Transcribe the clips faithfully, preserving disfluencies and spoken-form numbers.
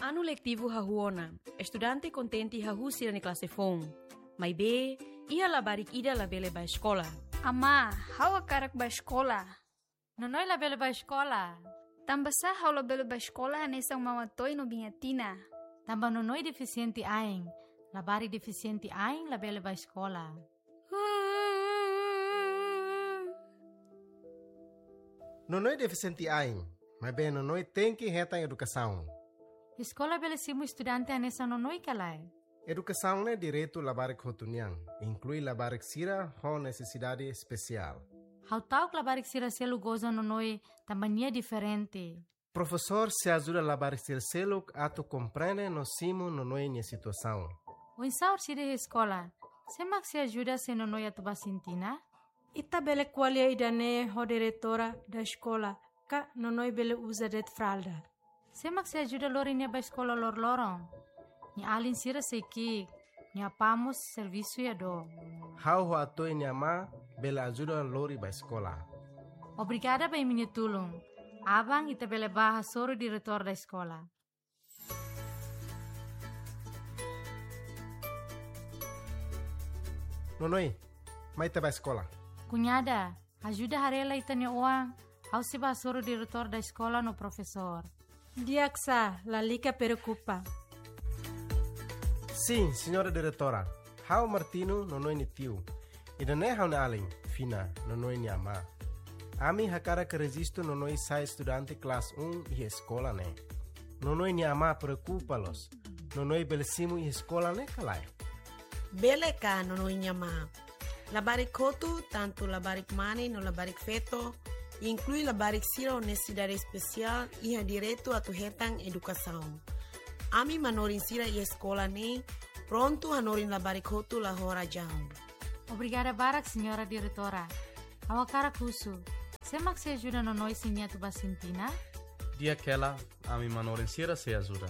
Anu letivu hahú ona, estudante kontente hahú sira-nia klase foun. Maibé, iha labarik ida labele bá eskola. Amá, ha'u hakarak bá eskola. Nonoi labele bá eskola. Tanbasá ha'u labele bá eskola hanesan Mama Toy no Biña Tina? Tanba Nonoi defisiente ain. Labarik defisiente ain labele bá eskola. Nonoi defisiente ain, maibé Nonoi tenke hetan edukasaun. Eskola bele simu estudante hanesan Nonoi ka lae? Edukasaun ne'e direitu labarik hotu nian, inklui labarik sira ho nesesidade espesiál. Ha'u ta'uk labarik sira seluk goza Nonoi tanba nia diferente. Profesór sei ajuda labarik sira seluk atu komprende no simu Nonoi nia situasaun. Oinsá orsida iha eskola? Sé mak sei ajuda se Nonoi atu bá sintina? Ita bele ko'alia ida-ne'e ho diretora da eskola, ka Nonoi bele uza de'it fralda. Sé mak sei ajuda lori nia bá eskola loroloron? Nia alin sira sei ki'ik, nia apá mós servisu iha dook. Ha'u ho Atoy nia amá bele ajuda lori bá eskola. Obrigada ba imi-nia tulun. Aban ita bele bá hasoru diretór da eskola. Nonoi, mai ita bá eskola. Kuñada, ajuda haree lai ita-nia oan, ha'u sei bá hasoru diretór da eskola no profesór. Di'ak sá, lalika preokupa. Sin, señora diretora. Ha'u Martino, Nonoi nia tiu. Ida-ne'e ha'u-nia alin, Fina, Nonoi nia amá. Ami hakarak rejistu Nonoi sai estudante klase um iha eskola ne'e. Nonoi nia amá preokupa loos. Nonoi bele simu iha eskola ne'e ka lae? Bele ka, Nonoi nia amá? Labarik hotu, tantu labarik mane no labarik feto, inklui labarik sira ho nesesidade espesiál, iha direitu atu hetan edukasaun. Ami manorin sira iha eskola ne'e prontu hanorin labarik hotu la ho razaun. Obrigada barak, señora diretora. Ha'u hakarak husu, sé mak sei ajuda Nonoi se nia atu bá sintina? Di'ak hela, ami manorin sira sei ajuda.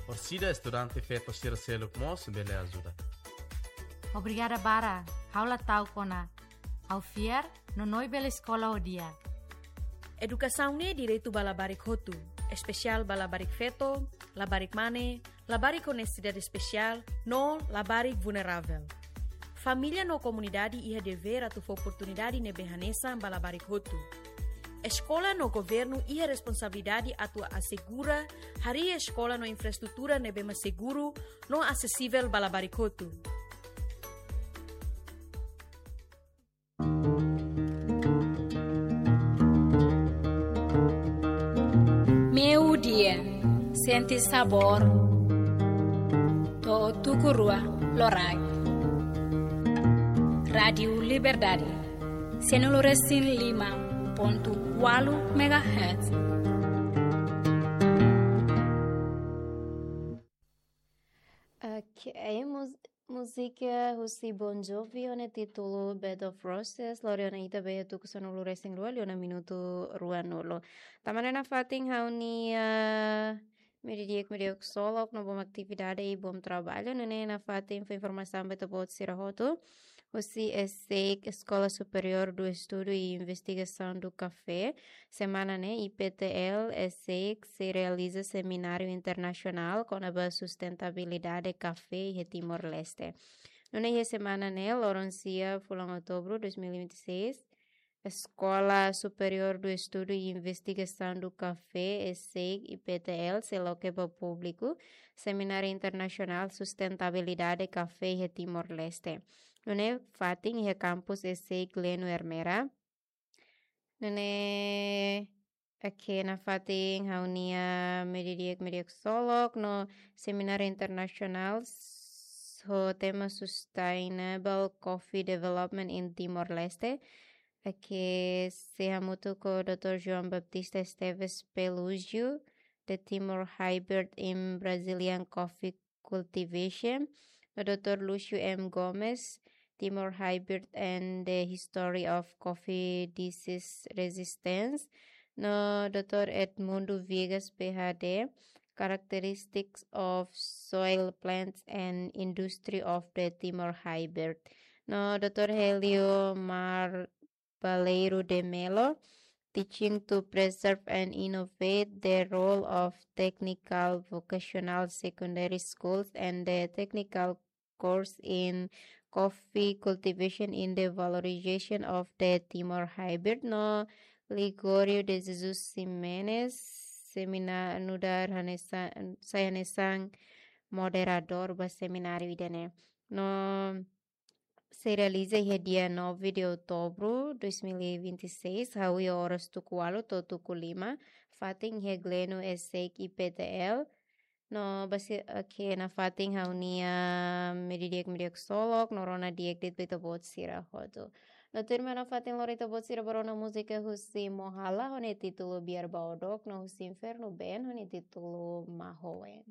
Orsida estudante feto sira seluk mós bele ajuda. Obrigada barak, ha'u la ta'uk ona. Ha'u fiar, Nonoi bele eskola ho di'ak. Edukasaun ne'e direitu ba labarik hotu, espesiál ba labarik feto, labarik mane, labarik ho nesesidade espesiál, no labarik vulneravel. Família no komunidade iha devér atu fó oportunidade ne'ebé hanesan ba labarik hotu. Eskola no governu iha responsabilidade atu asegura harii eskola no infraestrutura ne'ebé mak seguru no asesivel ba labarik hotu. Meiudia, sente sabór to'o tuku rua loraik. Rádiu Liberdade, cento e cinco e cinco ponto quatro megahertz. Ok, mus-, múzika husi Bon Jovi ho nia títulu Bed of Roses, lori ona ita ba iha tuku sanulu-resin-rua, liu ona minutu ruanulu. Tanba ne'e nafatin ha'u-nia, ah, Meiudia, Meiudia Ksolok, no bom atividade i bom trabalho. Nune'e nafatin fó informasaun ba ita-boot sira hotu. Husi ESEIC, Escola Superior do Estudo e Investigação do Café, semana ne'e, IPTL, ESEIC, sei realiza semináriu internasionál kona-ba sustentabilidade kafé iha Timor-Leste. Nune'e iha semana ne'e, loron sia, fulan Outubru dois mil e vinte e seis, Escola Superior do Estudo e Investigação do Café, ESEIC, IPTL, sei loke ba públiku semináriu internasionál sustentabilidade kafé iha Timor-Leste. Nune'e fatin iha kampus ESEIC Gleno Ermera. Nune'e, ok, nafatin ha'u-nia Meiudia, Meiudia Ksolok no semináriu internasionál s-, ho tema Sustainable Coffee Development in Timor-Leste. Ok, sei hamutuk ho doutór João Baptista Esteves Pelúgio, The Timor Hybrid in Brazilian Coffee Cultivation, no doutór Lúcio M Gomes, Timor Hybrid and the History of Coffee Disease Resistance, no doutór Edmundo Viegas, PhD, Characteristics of Soil Plants and Industry of the Timor Hybrid, no doutór Helio Mar Baleiro de Melo, teaching to preserve and innovate the role of technical vocational secondary schools and the technical course in coffee cultivation in the valorization of the Timor hybrid. No Ligorio de Jesus Ximenes, semináriu nu'udar hanesan, sai hanesan moderadór ba semináriu ida-ne'e. No sei realiza iha dia nove de outubro dois mil e vinte e seis, hahú iha oras tuku ualu to'o tuku lima, fatin iha Gleno Esek I P T L. No basi, oke, nafatin ha'u-nia media di'ak, media ksolok, no rona di'ak de'it ba ita-boot sira hotu. No tuirmai nafatin lori ita-boot sira ba rona múzika husi Mohala, ho nia títulu Biar Baodok, no husi Infernu Band, ho nia títulu Mahoen.